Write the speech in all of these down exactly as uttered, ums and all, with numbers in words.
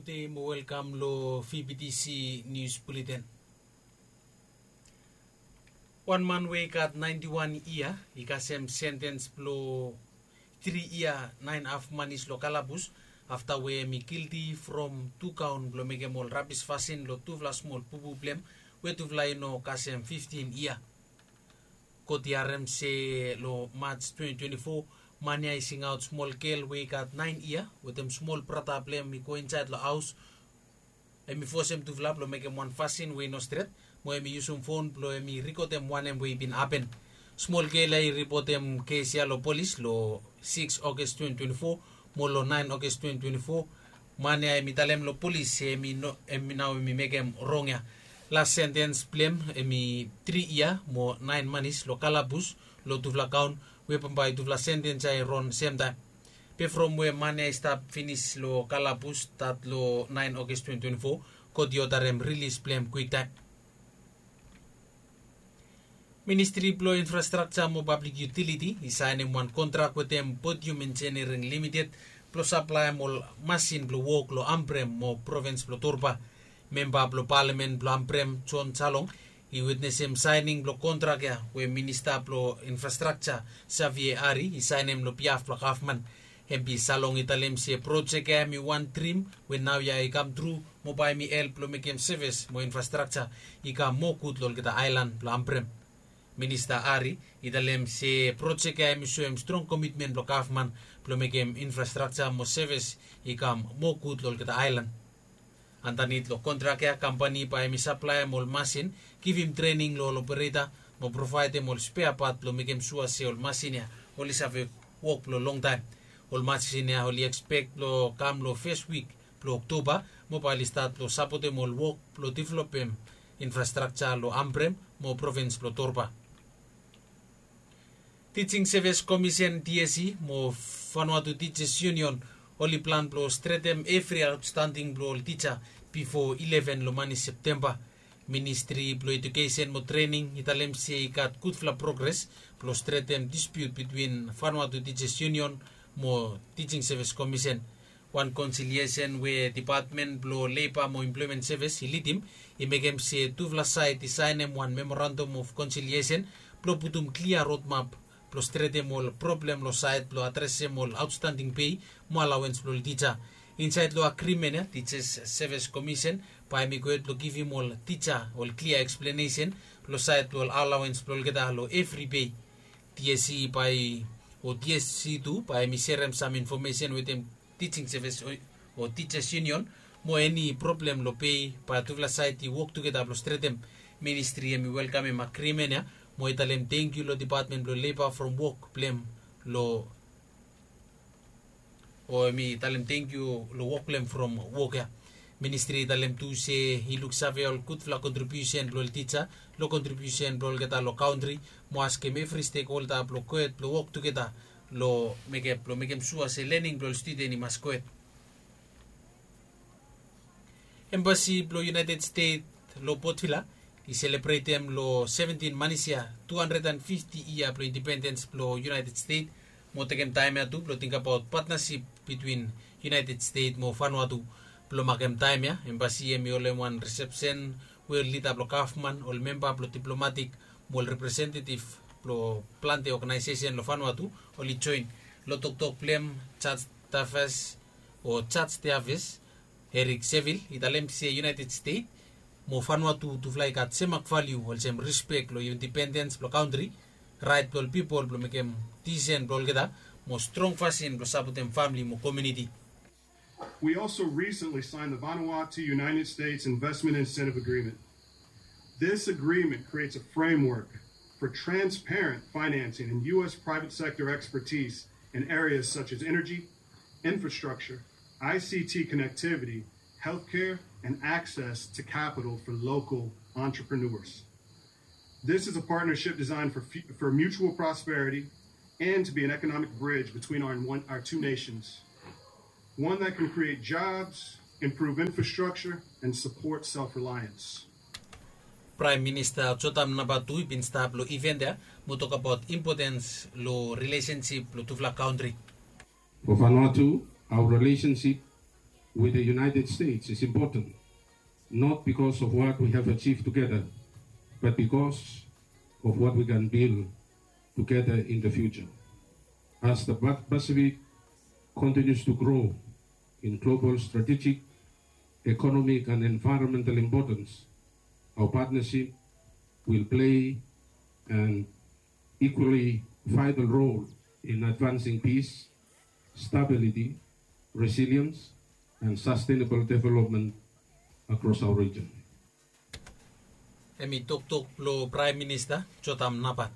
Gudei mo welkam long V B T C News Bulletin. Wan man we i gat naenti wan yia i kasem sentens blong tri yia naen haf manis long kalabus afta we hem i gilti from tu kaon blong mekem ol rabis fasin long tufala smol pupu blong hem we tufala i no kasem fiftin yia. God i harem se long Maj twenti twenti fo man ya i singaot smol gel we i gat naen yia wetem smol brata blong hem i go insaed long haos. Hem i fosem tufala blong mekem wan fasin we i no stret mo hem i yusum fon blong hem i rikodem wanem we i bin hapen. Smol gel ya i ripotem kes ya long polis long sikis Oges twenti twenti fo mo long naen Oges twenti twenti fo man ya hem i talem long polis se hem i no hem i nao hem i mekem rong ya. Las sentens blong hem hem i tri yia mo naen manis long kalabus long tufala kaon we bambae tufala sentens ya i ron semtaem. Be from we man ya i stap finis long kalabus stat long naen Oges twenti twenti fo, God i odarem rilis blong hem kwiktaem. Ministri blong Infrastrakja mo Pablik Yutiliti i saenem wan kontrak wetem Podium Engineering Limited blong saplaem ol masin blong wok long Ambrem mo provins blong Torba. Memba blong palamen blong Ambrem, John Salong, i witnesem saening blong kontrak ya we Minista blong Infrastrakja, Xavier Ari, i saenem long bihaf blong gavman. Hem be Salong i talem se projek ya hem i wan drim we naoia i kamtru mo bae hem i help blong mekem sevis mo infrastrakja i kam moa gud long olgeta aelan blong Ambrem. Minista Ari i talem se projek ya hem i soem strong komitmen blong gavman blong mekem infrastrakja mo sevis i kam moa gud long olgeta aelan. Andanit long kontrak ya kampani bae hem i saplaem ol masin, givim trening long ol opereta mo provaedem ol spea pat blong mekem sua se ol masin ya oli save wok blong longtaem. Ol masin ya oli ekspek blong kam long fes wik blong Oktoba mo bae oli stat blong sapotem ol wok blong developem infrastrakja long Ambrem mo provins blong Torba. Teaching Service Commission, T S C, mo Vanuatu Teachers Union oli plan blong stretem evri aotstanding blong ol tija bifo ileven long manis Septemba. Ministri blong Ejukesen mo Trening i talem se i gat gudfala progres blong stretem dispiut bitwin Vanuatu Teachers Union mo Teaching Service Commission. Wan konsiliesen we Depatmen blong Leiba mo Emploemen Sevis i lidim i mekem se tufala saed i saenem wan memorandam of konsiliesen blong putum klia rodmap blong stretem ol problem long saed blong adresem ol aotstanding pei mo alaoens blong ol tija. Insaed long agrimen ya, Teachers Service Commission bae hem i gohed blong givim ol tija ol klia eksplenesen long saed blong ol alaoens blong olgeta long evri pei. T S C bae o T S C tu bae hem i serem sam infomesen wetem Teaching Service o, o Teachers Union mo eni problem long pei bae tufala saed i wok tugeta blong stretem. Ministri hem i welkamem agrimen ya mo i talem tangkiu long Depatmen blong Leiba from wok blong hem long o hem i talem tangkiu long wok blong hem from wok ya. Ministri i talem tu se i luksave ol gudfala kontribiusen blong ol tija long kontribiusen blong olgeta long kantri mo askem evri stekholda blong gohed blong wok tugeta long mekem blong mekem sua se lening blong ol studen i mas gohed. Embasi blong United States long Port Vila i selebretem long seventin manis ya tu handred and fifti yia blong indipendens blong United States mo tekem taem ya tu blong tingbaot patnasip bitwin United States mo Vanuatu. Blong makem taem ya, embasi hem i holem wan risepsen we ol lida blong gavman, ol memba blong diplomatik mo ol representetif blong plante oganaesesen long Vanuatu oli joen. Long toktok blong hem, Jaj Tafes o Jaj Teaves, Erik Sevil, i talem se United States mo Vanuatu tufala i gat semak valiu olsem rispek long indipendens blong kantri, raet blong ol pipol blong mekem disisen blong olgeta mo strong fasin blong sapotem famili mo komuniti. We also recently signed the Vanuatu United States Investment Incentive Agreement. This agreement creates a framework for transparent financing and U S private sector expertise in areas such as energy, infrastructure, I C T connectivity, healthcare, and access to capital for local entrepreneurs. This is a partnership designed for, fu- for mutual prosperity and to be an economic bridge between our, one, our two nations, one that can create jobs, improve infrastructure, and support self reliance. Praem Minista Jotam namba tu i bin stap long iven ya mo tokbaot impotens long rilesensip blong tufala kantri. For Vanuatu, our relationship with the United States is important, not because of what we have achieved together, but because of what we can build together in the future. As the Pacific continues to grow in global strategic, economic, and environmental importance, our partnership will play an equally vital role in advancing peace, stability, resilience, and sustainable development across our region. Hemi toktok blong Praem Minista Jotam Napat.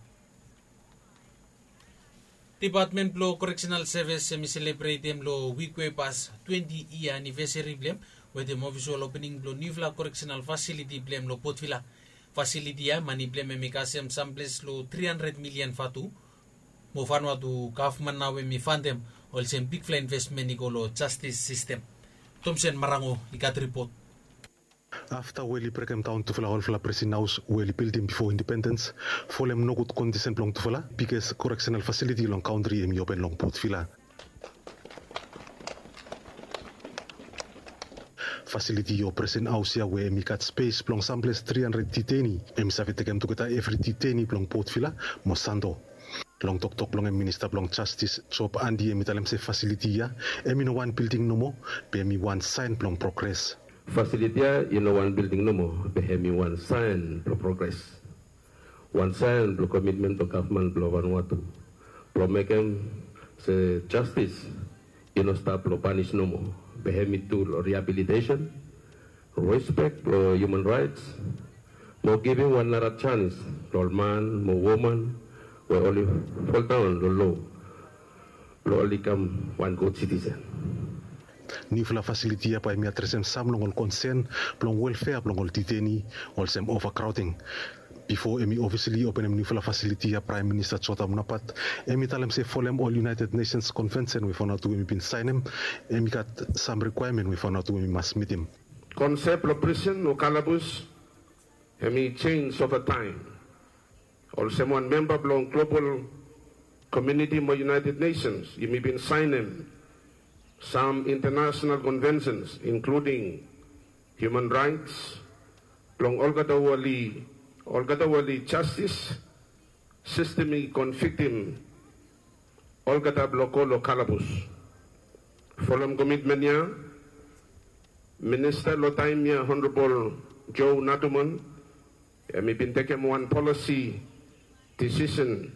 Depatmen blong Koreksenal Sevis hemi selebretem long wik we i pas twenti yia anivesari blong hem wetem ofisol opening blong niufala koreksenal fasiliti blong hem long Port Vila. Fasiliti ya mane blong hem hemi kasem samples long tri handred milian vatu. Mo Vanuatu gavman nao hemi fantem olsem bigfala invesmen i go long jastis sistem. Tomsen Marango i gat ripot. Afta we oli brekemdaon tufala olfala presen haos we oli bildim bifo indipendens, folem nogud kondisen blong tufala biges koreksenal fasiliti long kantri hemi open long Port Vila. Fasiliti o presen haos ya we hemi gat spes blong samples tri handred diteini hemi save tekem tugeta evri diteini blong Port Vila mo Santo. Long toktok blong hem, Minista blong Jastis Job Andi hemi talem se fasiliti ya hemi no wan bilding nomo, be hemi wan saen blong progres. Fasiliti ya i no wan bilding nomo, be hemi wan saen blong progres. Wan saen blong komitmen blong gavman blong Vanuatu blong mekem se jastis i no stap long panis nomo, be hemi tu long riabilitesen, respek blong hiuman raets, mo givim wan nara janis long ol man mo woman we oli foldaon long lo blong oli kam wan gud sitisen. Niufala fasiliti ya bae hemi adresem sam long ol konsen blong welfea blong ol diteini, olsem ovakraoding. Bifo hemi ofisali openem niufala fasiliti ya, Praem Minista Jotam Napat hemi talem se folem ol United Nations Konvensen we Vanuatu hemi bin saenem, hemi gat sam rikwaemen we Vanuatu hemi mas mitim. Konsep blong prisen o kalabus hemi jenis ova taem. Olsem wan memba blong global komuniti mo United Nations, yumi bin saenem sam intanasenal konvensens, inkluding hiuman raets, blong olgeta we oli, olgeta we oli jastis sistem i konviktim olgeta blong go long kalabus. Folem komitmen ya, Minista long taem ya, Honorabol Joe Naduman, hemi bin tekem wan polisi disisen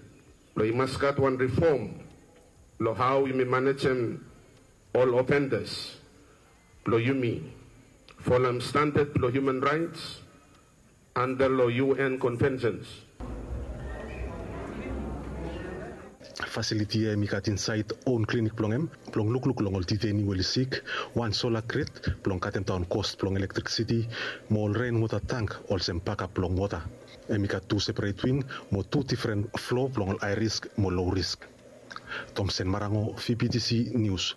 blong i mas gat wan rifom long hao yumi manejem ol ofendas blong yumi folem standad blong hiuman raets anda long U N konvensens. Fasiliti ya hemi gat insaed own klinik blong hem blong lukluk long ol diteini we oli sik, wan sola grid blong katemdaon kos blong elektrisiti, mo ol renwota tank olsem bakap blong wota. Hemi gat tu seperet wing mo tu difren flo blong ol hae risk mo low risk. Tomsen Marango, V B T C Nius.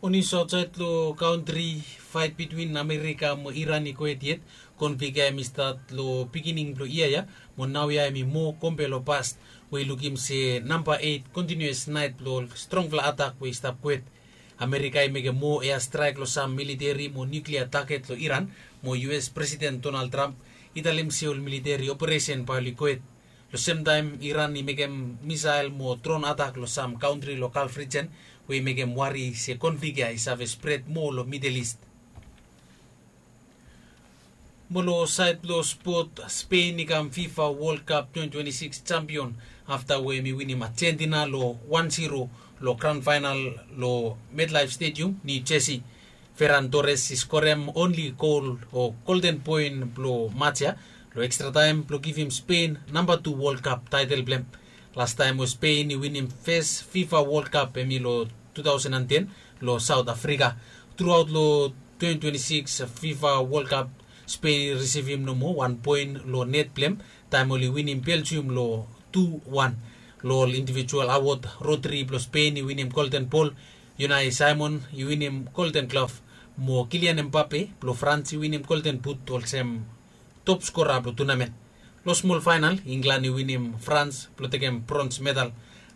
Ol nius aotsaed long kantri. Faet bitwin Amerika mo Iran i go hed yet. Konflik ya hemi stat long biginin blong yia ya, mo naoia hemi moa kompe long past, we i lukim se namba eit kontiniuas naet blong ol strongfala atak we i stap go hed. Amerika i mekem moa eastraek long sam militeri mo niuklia taget long Iran, mo U S Presiden Donald Trump i talem se ol militeri operesen bae oli go hed. Long semtaem Iran i mekem misael mo dron atak long sam kantri long Gulf rijen, we i mekem wari se konflik ya i save spred moa long Midel Ist. Mo long saed blong spot, Spen i kam FIFA World Cup twenti twenti sikis jampion afta we hemi winim Ajentina long wan ziro long graon faenal long MetLife Stadium, New Jersey. Ferran Torres i skorem onli gol o golden poen blong match ya long ekstra taem blong givim Spen namba tu World Cup taetel blong hem. Lastaem we Spen i winim fes FIFA World Cup hemi long tu taosen an ten long Saot Afrika. Truaot long twenti twenti sikis FIFA World Cup, Spen i risivim nomo wan poen long net blong hem taem oli winim Beljium long tu wan. Long ol indivijual awod, Rodri blong Spen i winim Golden Bol, Unai Simon i winim Golden Glove, mo Kylian Mbappe blong Frans i winim Golden But olsem top skora blong tunamen. Long smol faenal, Inglan i winim Frans blong tekem brons medal.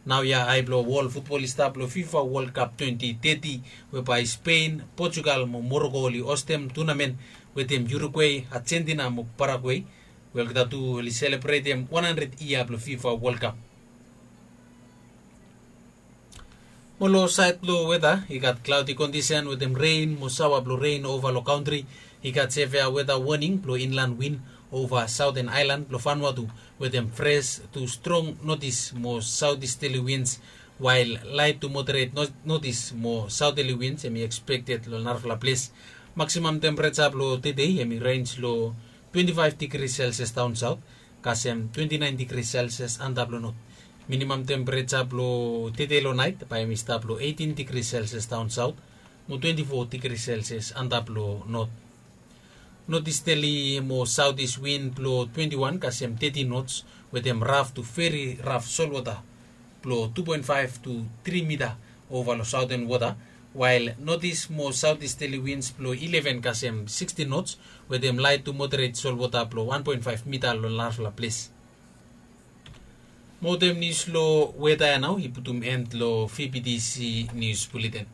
Naoia ai blong wol futbol i stap long fifa wol kap twenti teti, we bae spen, potugal mo moroko oli hostem tunamen wetem urugwe, ajentina mo paragwe, we olgeta tu oli selebretem wan handred yia blong fifa wol kap. Mo long saed blong weta i gat klaodi kondisen wetem ren mo saoa blong ren ova long kantri. I gat sevea weta woning blong inlan win ova saoten aelan blong fanua tu, wetem fres tu strong notis mo saotisteli wins, wael laet tu moderet notis mo saoteli wins hem i ekspekted long narafala ples. Maksimam tempereja blong tedei hem i renj long twenti faef digri selsias daon saot, kasem twenti naen digri selsias antap long not. Minimam tempereja blong tedei long naet bae hem i stap long eitin digri selsias daon saot, mo twenti fo digri selsias antap long not. Notisteli mo saotis win blong twenti wan kasem teti nots, wetem raf tu veri raf solwota blong tu poen faef tu tri mita ova long saoten wota, wael notis mo saotisteli wins blong ileven kasem siksti nots, wetem laet tu moderet solwota blong wan poen faef mita long narafala ples. Mo wetem nius long weta ya nao i putum en long vptc nius buleten.